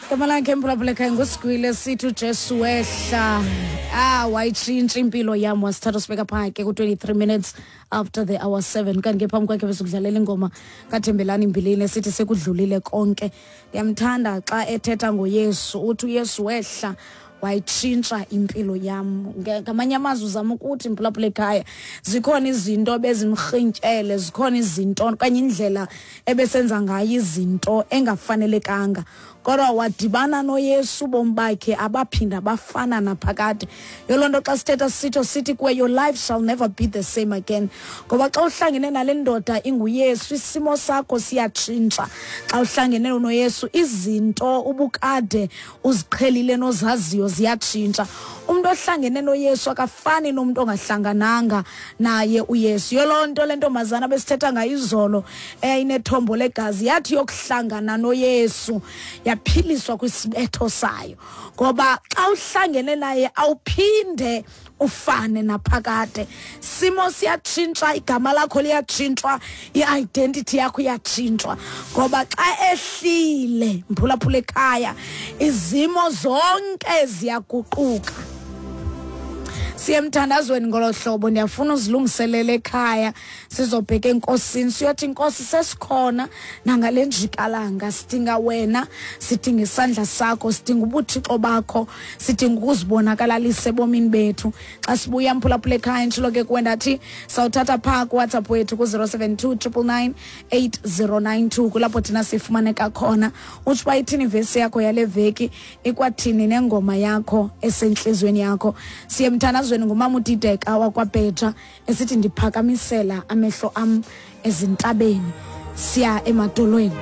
Igama lakhe mphulaphula ekhaya ngusigwile sithi uJesu wehla. Ah, wayitshintsha impilo yam, wasithatha sibeka phaa ke ku-23 minutes after the hour 7. Kanti ke phambi kwakhe besukudlalela ingoma kaThembelani Mbilini esithi sekudlulile konke. Ndiyamthanda xa ethetha ngoYesu, uthi uYesu wehla wayitshintsha impilo yam. Ngamanye amazwi uzama ukuthi, mphulaphula ekhaya, zikhona izinto bezimrhintyele, zikhona izinto okanye indlela ebesenza ngayo izinto engafanelekanga, kodwa wadibana noYesu, ubomi bakhe abaphinda bafana naphakade. Yoloo nto xa sithetha sitsho sithi kuwe, your life shall never be the same again, ngoba xa uhlangene nale ndoda inguYesu, isimo sakho siyatshintsha. Xa uhlangene noYesu, izinto ubukade uziqhelile nozaziyo ziyatshintsha. Umntu ohlangene noYesu akafani nomntu ongahlangananga naye uYesu. Yoloo nto le ntombazana besithetha ngayo izolo eyayinethombo legazi yathi yokuhlangana noYesu yaphiliswa kwisibetho sayo, ngoba xa uhlangene naye awuphinde ufane naphakade. Simo siyatshintsha, igama lakho liyatshintshwa, i-identity yakho iyatshintshwa, ngoba xa ehlile, mphulaphula ekhaya, izimo zonke ziyaguquka. Siye emthandazweni ngolo hlobo. Ndiyafuna uzilungiselele ekhaya, sizobheka enkosini, siyothi, Nkosi, sesikhona nangale njikalanga, sidinga wena, sidinga isandla sakho, sidinga ubuthixo bakho, sidinga ukuzibonakalalisa ebomini bethu. Xa sibuya, mphulaphula ekhaya, ntshilo ke kuwe ndathi sawuthatha phaa kuWhatsApp wethu ku-072 999 8092, kulapho thina sifumaneka khona. Utsho uba ithini ivesi yakho yale veki, ikwathini nengoma yakho esentliziyweni yakho. Siye emthandazweni ngumama uDideka wakwaBheja esithi ndiphakamisela amehlo am ezintabeni, siya emadolweni.